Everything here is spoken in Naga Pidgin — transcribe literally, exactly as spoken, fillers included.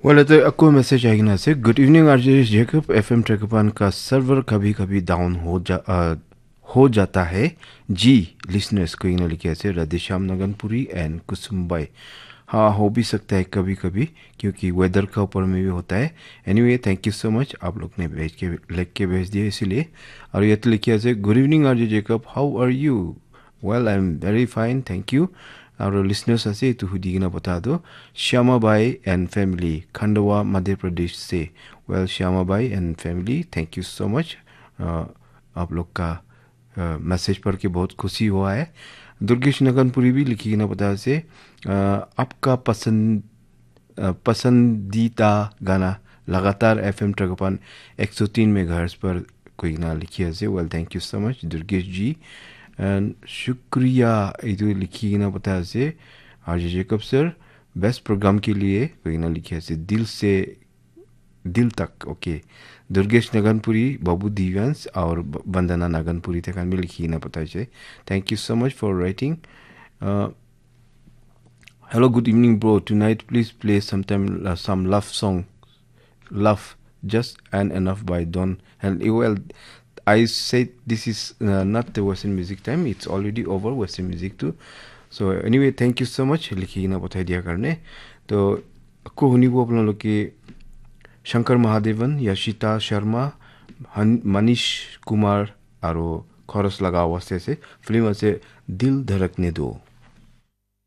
Well, ete ako message ahi kena ase. Good evening, R J Jacob. F M Trekapan ka server kabhi kabhi down ho ja, uh, ho jata hai. Ji, listeners, koi kena likhi ase. Radheshyam Naganpuri and Kusum Bai. Ha, ho bhi sakta hai kabhi kabhi, kyunki weather ka upar mein bhi hota hai. Anyway, thank you so much. Aap log ne bhej ke, likh ke bhej diya isiliye. Aur yate likhi ase, "Good evening, R J Jacob. How are you?" Well, I'm very fine, thank you. Aru listeners ase, etu hudi kena bata do. Shyama Bai and family, Khandwa, Madhya Pradesh se. Well, Shyama Bai and family, thank you so much. Uh, aap log ka, uh, message padh ke bahut khushi hua hai. Durgesh Naganpuri bhi likhi kena bata ase, uh, "Aapka pasand, uh, pasandita gana lagatar F M Trekapan ek so teen megahertz par," koi kena likhi ase. Well, thank you so much, Durgesh ji. And shukriya, etu likhi kena bata ase, "R J Jacob sir, best program ke liye," koi kena likhi ase. "Dil se, dil tak," okay. Durgesh Naganpuri, Babu Divans, aur B-, Vandana Naganpuri, te khan bhi likhi kena bata ase. Thank you so much for writing. Uh, "Hello, good evening, bro. Tonight, please play sometime, uh, some love song. Love, Just and Enough by Don." And, eh, well, I said this is, uh, not the Western music time. It's already over Western music too. So anyway, thank you so much. Likhi kena pathai dia karne. To, ako hunibo apnaloke Shankar Mahadevan, Yashita Sharma, Han-, Manish Kumar, aru chorus laga awaz te ase. Film ase Dil Dharakne Do.